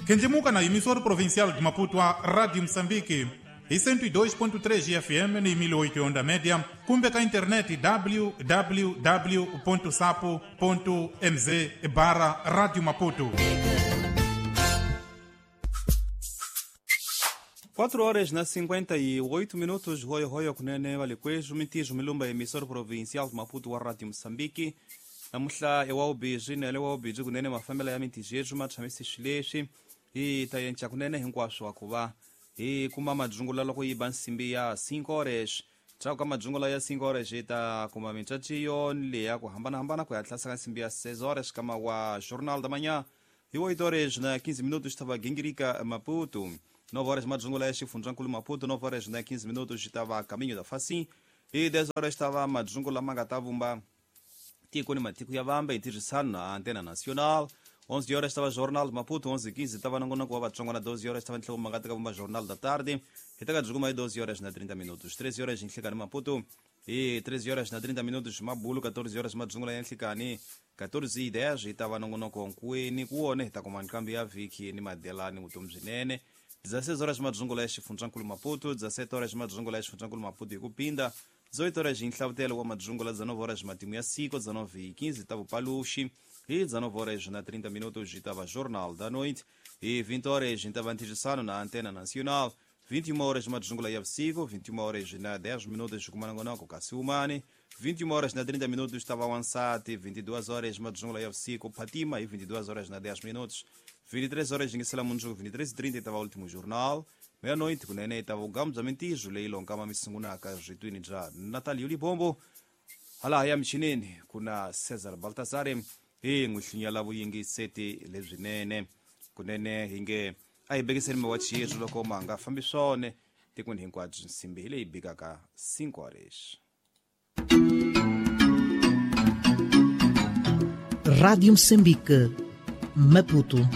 Kenjemuka na emissora provincial de Maputo a Rádio Moçambique e 102.3 FM ni 1008 onda média, kumbe ka internet www.sapo.mz barra Rádio Maputo. 4 horas na 58 minutos, hoyo hoyo kunene valikwezu mitizo milumba emissora provincial de Maputo wa Rádio Moçambique. Namuhla ewawubizwi nele wawubizwi kunene mafambela ya mitizo yethu matshamisi xilexi hi ta yenca kunene hinkwaswo wa ku va hi kuma madzungula loko yi ba nsimbi ya 5 horas ndzhaku ka madzungula ya 5 horas hi ta kuma mitswaciyo leya ku hambanahambana ku ya tlhasa ka nsimbi ya 6 horas kama wa jornal da manhã hi 8 horas na 15 minutos tava gingirika Maputo. 9 horas madzungula ya xifundzankulu Maputo, 9 horas na 15 minutos tava caminho da Facim e 10 horas tava madzungula ma nga ta vumba tiko ni matiko ya vamba hi tirhisano na Antena Nacional. 11 horas estava Jornal de Maputo, 11:15 estava nongonoko wa Vatsonga na 12 horas estava ntlhelo manga teka vumba Jornal da Tarde. Hi teka byi kuma hi 12 horas na 30 minutos. 13 horas nhlikani Maputo e 13 horas na 30 minutos Mabulu, 14 horas madzungula ya nhlikani, 14:10 hi tava nongonoko nkuweni ku wona hi ta kuma nkambi ya vhiki ni madelani vutomi byinene. 16 horas madzungula ya xifundzankulu Maputo, 17 horas madzungula ya xifundzankulu Maputo hi ku pinda. 18 horas hi nhlavutelo wa madzungula, 19 horas matimu ya siku, 19:15 ta vupaluxi e 19 horas na 30 minutos estava Jornal da Noite e 20 horas estava antigisano na Antena Nacional. 21 horas madzungula ya vusiku, 21 horas na 10 minutos kumanangonako Kasiumani, 21 horas na 30 minutos estava Wansati, 22 horas madzungula ya vusiku Fatima e 22 horas na 10 minutos. 23 horas ngisela munjuku, 23:30 estava o último jornal. Meia-noite kunene estava o Gamo bya Mintizo leyi lonkama misungunaka zvitwini bya Natalio Libombo. Hala ya michinini kuna Cesar Baltasar hi n'wi hlinyela vuyingiseti lebyinene kunene hi nge a hi bekiseni mawachi yethu loko ma nga fambi swona tikweni hinkwabyo. Nsimbi hi leyi bikaka 5 horas. Rádio Moçambique, Maputo.